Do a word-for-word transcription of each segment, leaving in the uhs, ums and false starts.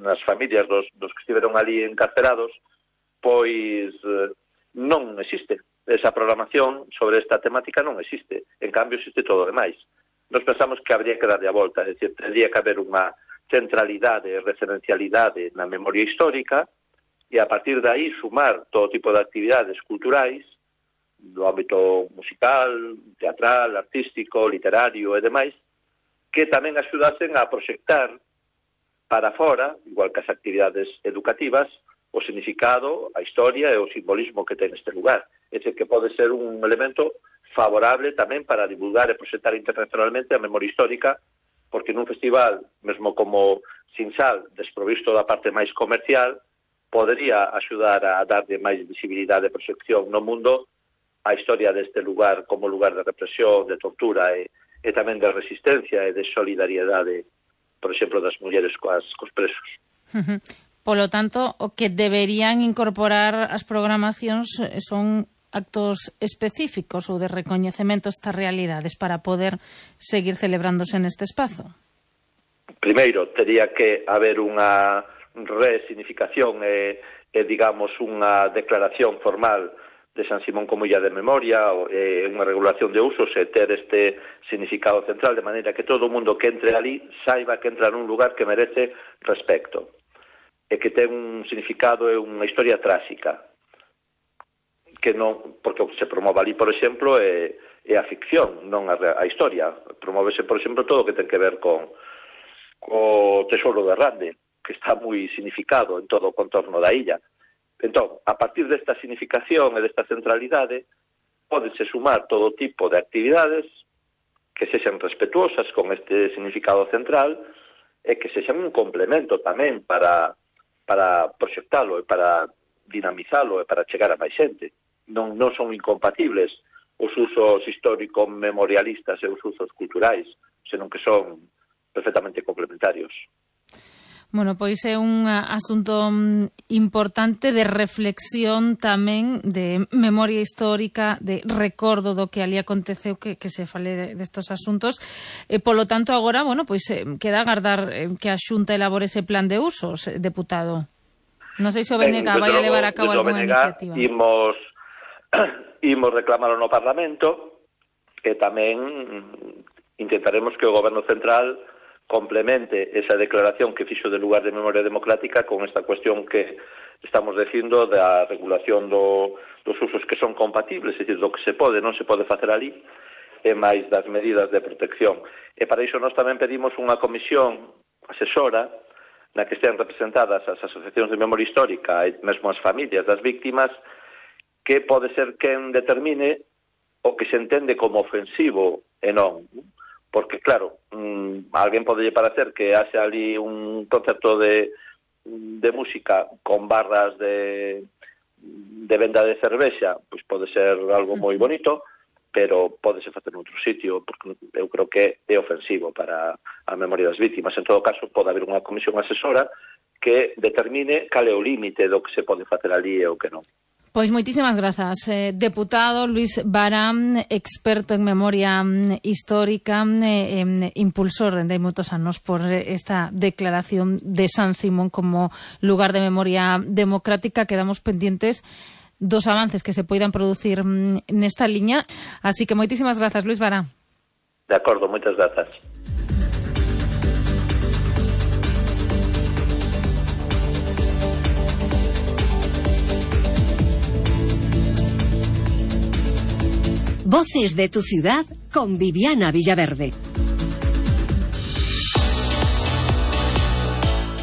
nas familias dos, dos que estiveron ali encarcerados, pois eh, non existe. Esa programación sobre esta temática non existe. En cambio, existe todo o demais. Nos pensamos que habría que darlle a volta, é dicir, tendría que haber unha centralidade e referencialidade na memoria histórica e a partir de aí sumar todo tipo de actividades culturais do ámbito musical, teatral, artístico, literario e demais, que tamén axudasen a proxectar para fora, igual que as actividades educativas, o significado, a historia e o simbolismo que ten este lugar. É dicir, que pode ser un elemento favorable tamén para divulgar e proxectar internacionalmente a memoria histórica, porque nun festival, mesmo como Sinsal, desprovisto da parte máis comercial, podería axudar a darlle máis visibilidade e proxección no mundo a historia deste lugar como lugar de represión, de tortura e, e tamén de resistencia e de solidariedade, por exemplo, das mulleres coas, cos presos. Uh-huh. Polo tanto, o que deberían incorporar as programacións son actos específicos ou de recoñecemento a estas realidades para poder seguir celebrándose neste espazo? Primeiro, tería que haber unha resignificación e, e digamos, unha declaración formal de San Simón como illa de memoria, e unha regulación de usos e ter este significado central, de maneira que todo o mundo que entre ali saiba que entra nun lugar que merece respecto e que ten un significado e unha historia tráxica, que non, porque o que se promove ali, por exemplo, é, é a ficción, non a, a historia. Promóvese, por exemplo, todo o que ten que ver con co Tesouro de Rande, que está moi significado en todo o contorno da illa. Entón, a partir desta significación e desta centralidade, pódese sumar todo tipo de actividades que sexan respetuosas con este significado central e que sexan un complemento tamén para para proxectalo e para dinamizalo e para chegar a máis xente. Non, non son incompatibles os usos histórico-memorialistas e os usos culturais, senón que son perfectamente complementarios. Bueno, pois é un asunto importante de reflexión tamén, de memoria histórica, de recordo do que ali aconteceu, que, que se fale destos de asuntos. E, polo tanto, agora, bueno, pois eh, queda agardar eh, que a Xunta elabore ese plan de usos, eh, deputado. Non sei se o B N G vai a levar a cabo algunha iniciativa. Imos, imos reclamarlo no Parlamento e tamén intentaremos que o Goberno Central complemente esa declaración que fixo de lugar de memoria democrática con esta cuestión que estamos dicindo da regulación do, dos usos que son compatibles, é dicir, do que se pode, non se pode facer ali, e máis das medidas de protección. E para iso nós tamén pedimos unha comisión asesora na que estén representadas as asociacións de memoria histórica e mesmo as familias das víctimas, que pode ser quen determine o que se entende como ofensivo e non. Porque, claro, mmm, a alguén pode parecer que haxe ali un concerto de, de música con barras de, de venda de cervexa, pois pode ser algo moi bonito, pero pódese facer noutro sitio, porque eu creo que é ofensivo para a memoria das vítimas. En todo caso, pode haber unha comisión asesora que determine cal é o límite do que se pode facer ali e o que non. Pois moitísimas grazas, eh, deputado Luís Vara, experto en memoria histórica, eh, eh, impulsor de moitos anos por esta declaración de San Simón como lugar de memoria democrática. Quedamos pendientes dos avances que se poidan producir nesta liña. Así que moitísimas grazas, Luís Vara. De acordo, moitas grazas. Voces de tu ciudad con Viviana Villaverde.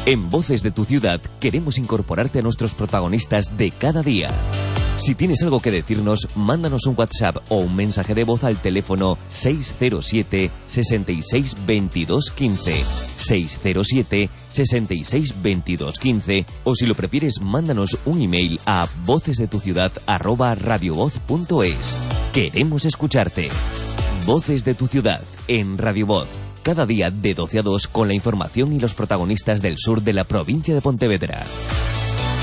En Voces de tu ciudad queremos incorporarte a nuestros protagonistas de cada día. Si tienes algo que decirnos, mándanos un WhatsApp o un mensaje de voz al teléfono seis cero siete, seis seis, veintidós, quince, seis cero siete, seis seis, veintidós, quince, o si lo prefieres, mándanos un email a vocesdetuciudad arroba radiovoz punto es. Queremos escucharte. Voces de tu ciudad en Radio Voz. Cada día de doce a dos con la información y los protagonistas del sur de la provincia de Pontevedra.